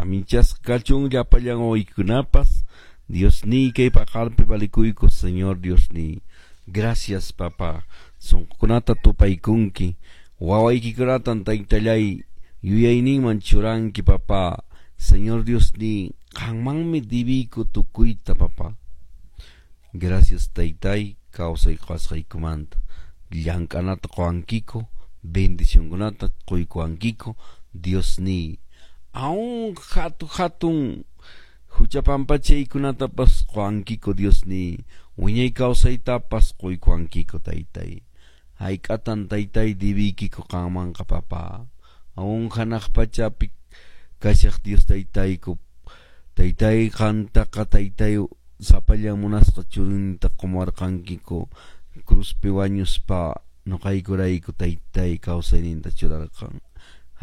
Saminchasqa kachun llapallan wawaykunapas. Diosniy kay paqarpi valikuyku, Señor Diosniy. Gracias, papá. Sunqukunata tupaykunki. Wawaykikunatan taytallay yuyayninman churanki, papá. Señor Diosniy, qanmanmi dibiyku tukuyta, papá. Gracias, taytay, kawsay qasqaykumanta. Llank'anata quwankiku, bendicionkunata quykuwankiku, Diosniy. Aún hatu hatun hucha pampachaykunatapas quwankiku, Diosniy. Wiñay kawsaytapas quykuwankiku, taytay. Hayk'atan taytay dibiykiku qanmanqa, papá. Aún hanaq pachapi kashaq Dios taytayku. Taytay qantaqa taytay sapallan munasqa churinta qumuwarqankiku. Cruzpi wañuspa nuqaykurayku taytay kawsayninta churarqan.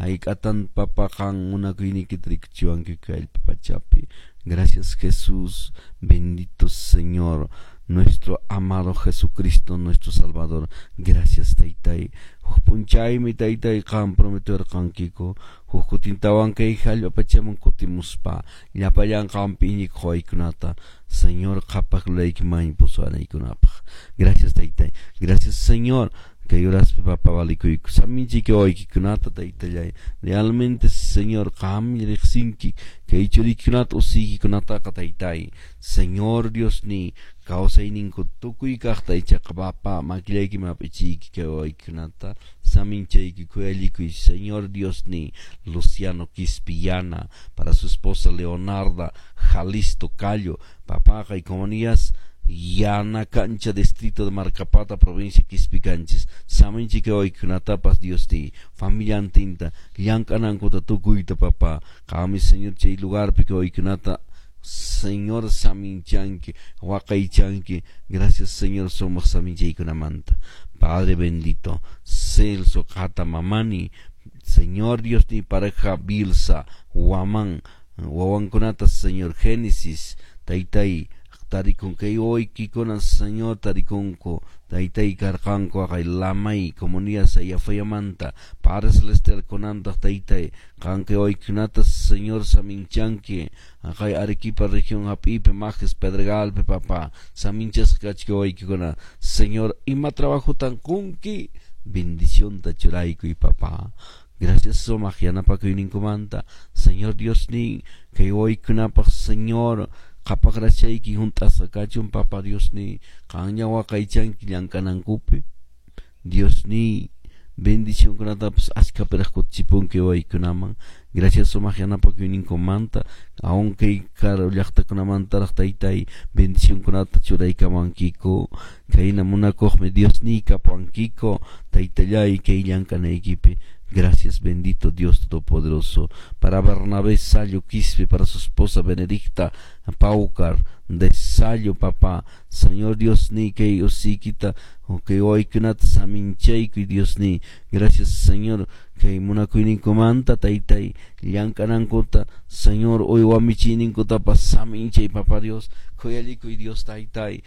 Hayk'atan papa qan munakuyniykita rikuchiwankiku allpa pachapi. Gracias, Jesús, bendito Señor, nuestro amado Jesucristo, nuestro Salvador. Gracias, taytay. Huk p'unchaymi taytay qan prometewarqankiku. Huk kutintawan kay hallp'a pachaman kutimuspa llapallan qanpi iñikuq waykunata Señor qhapaq lulaykiman pusuwanaykunapaq. Gracias, taytay. Gracias, Señor. Kay horaspi papa valikuyku. Saminchayki wawaykikunata taytallay. Realmente, Señor, qammi riqsinki kay churiykikunata usiykikunataqa taytay. Señor Diosniy, kawsayninku tukuy kaqta ichaqa papa makillaykiman hap'ichiyki kay wawaykikunata. Saminchayki khuyallikuy, Señor Diosniy, Luciano Quispillana, para su esposa Leonarda Jalisto Callo, papaqa y comunidades Yana Cancha, distrito de Marcapata, provincia Quispicanchis. Saminchayki wawaykikunatapas Diosniy, familiantinta, llank'anankuta tukuyta papá. Qammi, Señor, chay lugarpi kay wawaykikunata Señor saminchanki, waqaychanki. Gracias, Señor, sumaq saminchaykunamanta. Padre bendito, Celso Qata Mamani, Señor Diosniy, pareja Bilsa, Waman, wawankunata, Señor Génesis, taytay, tarikun kay wawaykikuna, Señor, tarikunku, taytay karqanku aqay Lamay, comunidad Sayafayamanta, Padre Celestial kunantaq taytay, qan kay wawaykikunata, Señor, saminchanki, aqay Arequipa región hap'iypi, Majes, Pedregalpi, papá, saminchasqa kachka wawaykikuna, Señor, ima trabajotan qunki, bendicionta churaykuy, papá. Gracias sumaq yanapakuyninkumanta, Señor Diosniy, kay wawaykunapaq, Señor, qhapaq rachayki hunt'asqa kachun, papa Diosniy, qanña waqaychanki llank'anankupi. Diosniy, bendicionkunatapas achkapiraq kutichipunki wawaykunaman. Gracias sumaq yanapakuyninkumanta, aún kay karu llaqtakunamantaraq taytay bendicionkunata churaykamankiku. Kayna munakuqmi Diosniy kapuwankiku, taytallay kay llank'anaykipi. Gracias, bendito Dios Todopoderoso. Para Bernabé Sayo Quispe, para su esposa Benedicta Paucar de Sayo, papá. Señor Diosniy, kay usikita, kay wawaykunata saminchaykuy Diosniy. Gracias, Señor, kay munakuyninkumanta taytay llank'anankuta, Señor, uywa michiyninkutapas saminchay, papá Dios. Khuyallikuy Dios taytay.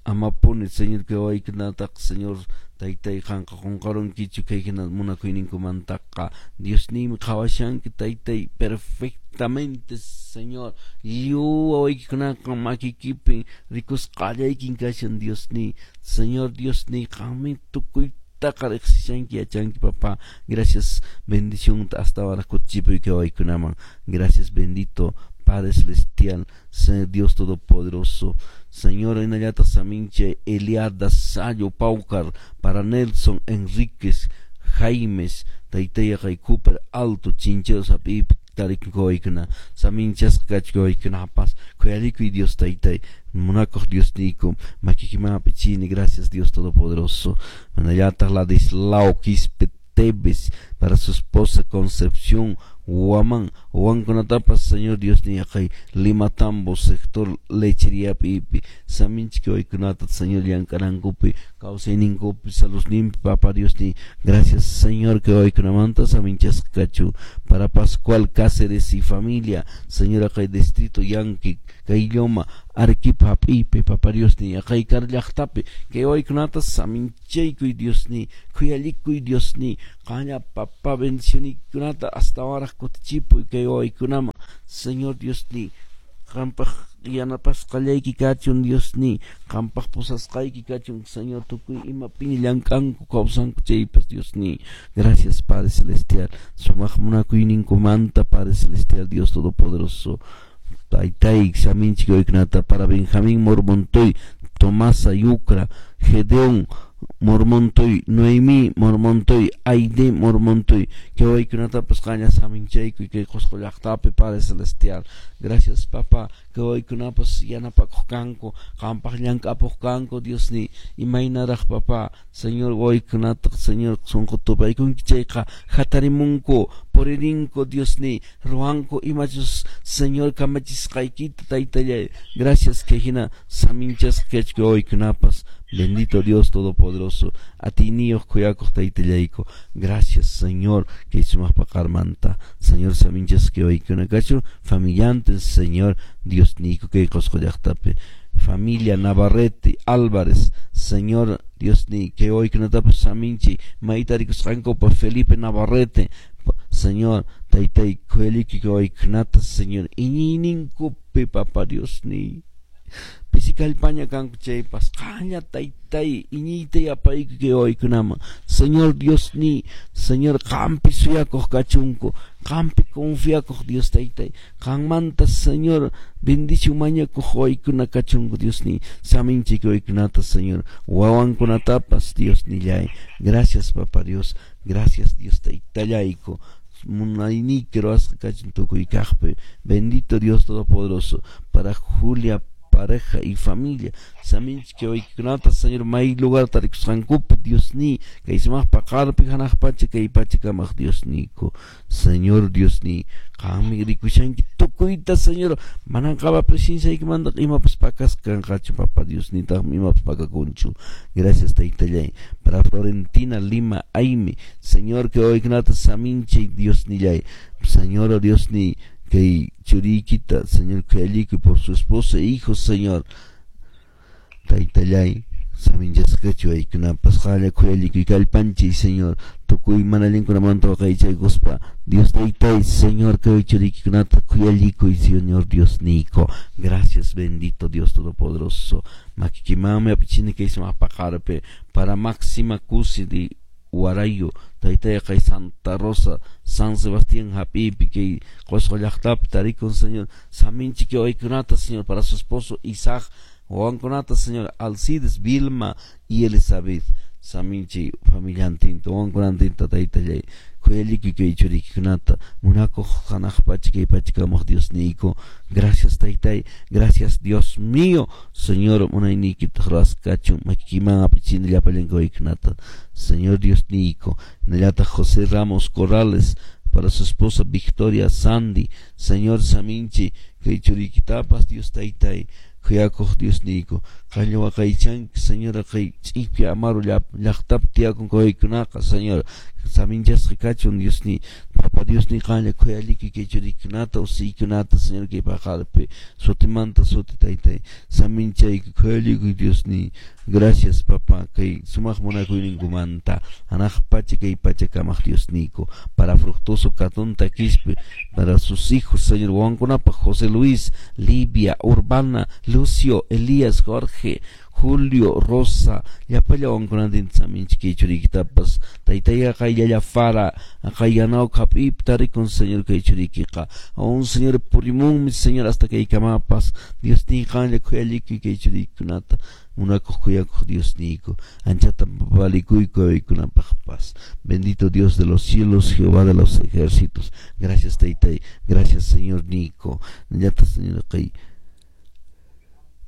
Amapuni, Señor, kay wawaykunataqa, Señor, taytay qanqa qunqarunkichu kay hina munakuyninkumantaqa. Diosniymi qhawashanki taytay perfectamente, Señor. Lliw wawaykikunaqa makiykipi rikusqallaykin kashan Diosniy. Señor Diosniy, qanmi tukuytaqa riqsishanki yachanki, papá. Gracias, bendición hasta ahora kutichipuy kay wawaykunaman. Gracias, bendito Padre Celestial, Señor Dios Todopoderoso. Señor, hinallataq samincha Eliada Sayo Paucar, para Nelson Enríquez Jaimes, taytay Cooper Alto, Chincheros hap'iypi tarikun wawaykuna, saminchasqa kachka wawaykunapas, khuyarikuy Dios taytay, munakuq Diosniyku, makiykiman hap'ichini, gracias, Dios Todopoderoso. Hinallataq Ladislao Quispe Tevez, para su esposa Concepción Guamán, wawankunatapas, Señor Diosniy, aqay Limatambo sector lecheriapi saminchiki wawaykunata, Señor, llank'anankupi, kawsayninkupi, saludninpi, papá Diosniy. Gracias, Señor, kay wawaykunamanta saminchasqa kachu. Para Pascual Cáceres y familia, Señor, aqay distrito Yanqui, Caylloma, Arequipa hap'iypi, papá Diosniy, aqay kar llaqtapi kay wawaykunata saminchaykuy Diosniy, khuyallikuy Diosniy, qanlla papá bendicioniykunata astawanraq kutichipuy kay wawaykunaman. Señor Diosni, qampaq yanapasqallayki kachun Diosni, qampaq pusasqayki kachun, Señor, tukuy imapiña llank'anku kawsanku chaypas, Diosni. Gracias, Padre Celestial, sumaq munakuyninkumanta, Padre Celestial, Dios Todopoderoso. Taytay, saminchik waykunata para Benjamín Mormontoy, Tomasa Yucra, Gedeón Mormontoy, Noemí Mormontoy, Aide Mormontoy, kay waykunatapas qanlla saminchaykuy kay Qusqu llaqtapi, Padre Celestial. Gracias, Papá, kay waykunapas yanapakuq kanku, qampaq llank'apuq kanku, Diosni, imaynaraq, Papá, Señor, waykunata, Señor, sunqu tupaykunki chayqa hatarimunku, puririnku, Diosni, ruwanku imachus, Señor, kamachisqaykita, Taytallay. Gracias, kay hina saminchasqa kachku waykunapas. Bendito Dios Todopoderoso, atiyniyuq khuyakuq Taytallayku. Gracias, Señor, kay sumaq paqarmanta. Señor, saminchasqa waykuna kachun, familiantes, Señor, Dios niyku kay Qusqu llaqtapi. Familia Navarrete Álvarez, Señor Dios ni kay waykunatapas saminchi mayta rikusqankupa Felipe Navarrete, Señor, Taytay, khuyaliki kay waykunata, Señor, iñiyninkupi, Papa Dios ni. Pisi kallpaña kanku chaypas, qanlla, Taytay, iñiyta yapayku kay waykunaman. Señor Dios ni, Señor, qampi suyakuq kachunku, qampi confiakuq, Dios Taytay, qanmanta, Señor, bendición mañakuq waykuna kachunku, Dios ni, saminchik waykunata, Señor, wawankunatapas, Dios nillay. Gracias, Papa Dios, gracias, Dios Taytallayku. Munayniyki ruwasqa kachun tukuy kaqpi. Bendito Dios Todopoderoso, para Julia pareja y familia. Saminchik waykikunata, Señor, may lugar tarikusqankupi, Dios ni, kay sumaq paqarpi hanaq pacha kay pacha kamaq Dios niyku. Señor Dios ni, qanmi rikushanki tukuyta, Señor, manan qampa presenciaykimanta imapas pakasqa kanqachu, Papa Dios, nitaqmi imapas pakakunchu. Gracias, Taytallay. Para Florentina Lima Aime, Señor, kay waykunata saminchay, Dios nillay. Señor, oh Dios ni, kay churiykita, Señor, khuyallikuy por su esposa e hijos, Señor. Taytallay, saminchasqachu waykunapas qanlla khuyallikuy kallpanchay, Señor, tukuy mana allinkunamanta waqaychaykuspa, Dios Taytay, Señor, kay churiykikunata khuyallikuy, Señor Dios niyku. Gracias, bendito Dios Todopoderoso. Makikimanmi apichini kay sumaq paqarpi para Máxima Cusi de Huarayo, Taytay, kay Santa Rosa, San Sebastián hap'ipi kay Qusqu llaqtapi tarikun, Señor, saminchik waykunata, Señor, para su esposo Isaac, wawankunata, Señor, Alcides, Vilma y Elizabeth. Saminchi familiantinta, wawankunantinta, Taytallay. Khuyallikuy kay churiykikunata, munakuq hanaq pacha kay pacha kamaq Dios niyku. Gracias, Taytay, gracias, Dios mío, Señor, munayniykitaq ruwasqa kachun, makikiman apichini llapallanku waykunata. Señor Dios niyku. Hinallataq José Ramos Corrales, para su esposa Victoria Sandy, Señor, saminchi kay churiykitapas, Dios Taytay, khuyakuq Dios niyku. Qanlla waqaychanki, Señor, kay Ch'ipia Amaru llaqtapi tiyakun waykunaqa, Señor, saminchasqa kachun, Dios ni, Papa Dios ni, qanlla khuyallikuy kay churiykunata, usiykunata, Señor, kay paqarpi sutimanta suti, Taytay, saminchayku, khuyallikuy, Dios ni. Gracias, Papá, kay sumaq munakuyninkumanta, hanaq pacha kay pacha kamaq Dios niyku. Para Fructuoso Catunta Quispe, para sus hijos, Señor, wawankunapaq José Luis, Livia, Urbana, Lucio, Elías, Jorge, Julio, Rosa, llapalla wawankunatinta saminchik kay churiykitapas. Taytay, qayllallafara, qayyanawk hap'ipi tarikun, Señor, kay churiykiqa. Aún, Señor, purimunmi, Señor, hasta kay kamapas. Dios ni, qanlla khuyallikuy kay churiykikunata. Munakuq khuyakuq Dios niyku. Anchata valikuyku waykunapaqpas. Bendito Dios de los cielos, Jehová de los ejércitos. Gracias, Taytay. Gracias, Señor niyku. Llata, Señor, kay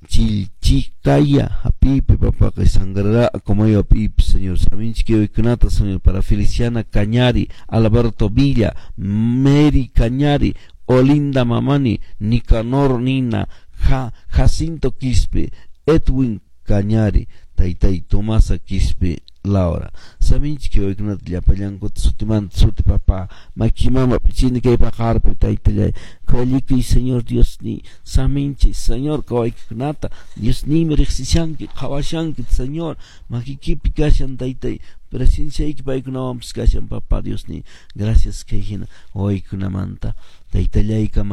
Chilchicaya, hapipi, papá, kay Sangrará, como yo, hapipi, Señor. Saminchik waykunata, Señor, para Feliciana Cañari, Alberto Villa, Mary Cañari, Olinda Mamani, Nicanor Nina, Jacinto Quispe, Edwin Cañari, Taytay, Tomasa Quispe, Laura. Saminchik waykunata llapallankuta sutimanta suti, papá. Makimama pichini kay paqarpi, Taytallay. Khuyallikuy, Señor Dios ni, saminchi, Señor, kawaykikunata, Dios nimi riqsishanki, qhawashanki, Señor, makikipi kashan, Taytay, presenciayki paykunawanpas kashan, Papá Dios ni. Gracias kay hina waykunamanta. Taytallay kamaq